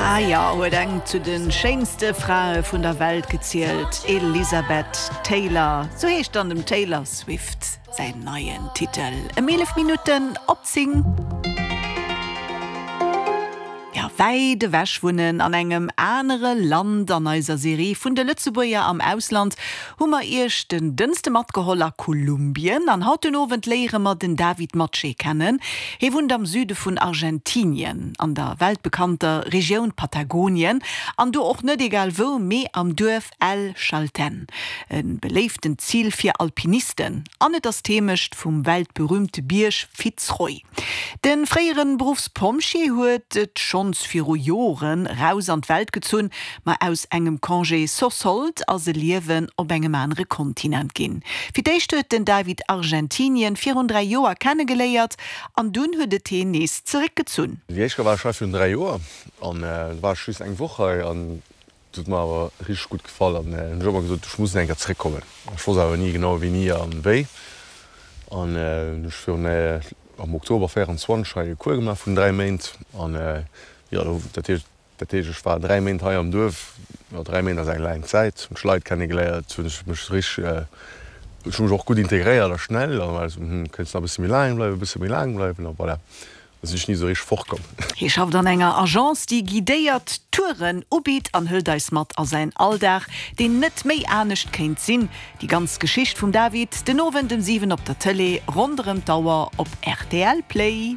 Ah jo, huet eng zu de schéinste Frae vun der Welt gezielt, Elizabeth Taylor. Sou heescht dann dem Taylor Swift säin neien Titel. Ëm 11 Minutten op 10. Jo, wäit ewech wunnen an engem anere Land. An eiser Serie vun de Lëtzebuerger am Ausland hu mer iech den Dënste matgeholl a Kolumbien. An haut den Owend léiere mer den David Matsche kennen. Hie wunnt am Süde vun Argentinien, an der weltbekannter Regioun Patagonien. An do och net egal wou, mee am Duerf El Chaltén. E beléiftent Zil fir Alpinisten. An et ass d'Heemecht vum weltberüümte Bierg Fitz Roy. De fréiere Beruffspompjee huet et schonns viru Joren raus an d'Welt gezunn, ma aus engem Congé sans solde ass e Liewen op engem anere Kontinent ginn. Fir d'éischt huet den David Argentinien virun 3 Joer kennegeléiert an dunn huet et heen nees zeréckgezunn. Déi éischt Kéier war ech hei virun 3 Joer an do war ech just eng Woch hei an et huet mer awer richteg gutt gefall an hunn ech ëmmer gesot, ech muss eng Kéier zeréckkommen. Ech wosst awer ni genau wéini an wéi an hunn ech virun am Oktober 24 hei e Cours gemaach vun 3 Méint an jo dat heescht dat heescht ech war 3 Méint hei am Duerf, jo 3 Méint ass eng laang Zäit, hunn ech Leit kennegeléiert, hunn ech mech richteg ech hu mech och gutt integréiert a schnell an war esou hm kéints nach e bësse méi laang bleiwen, e bësse méi laang bleiwen a voilà. Da sinn ech ni esou richteg fortkomm. Hie schafft an enger Agence, déi guidéiert Touren ubitt an hëlt eis mat a säin Alldag, deen net méi anescht kéint sinn. Déi ganz Geschicht vum David den Owend um 7 op der Tëlee ronderëm d'Auer op rtl Play.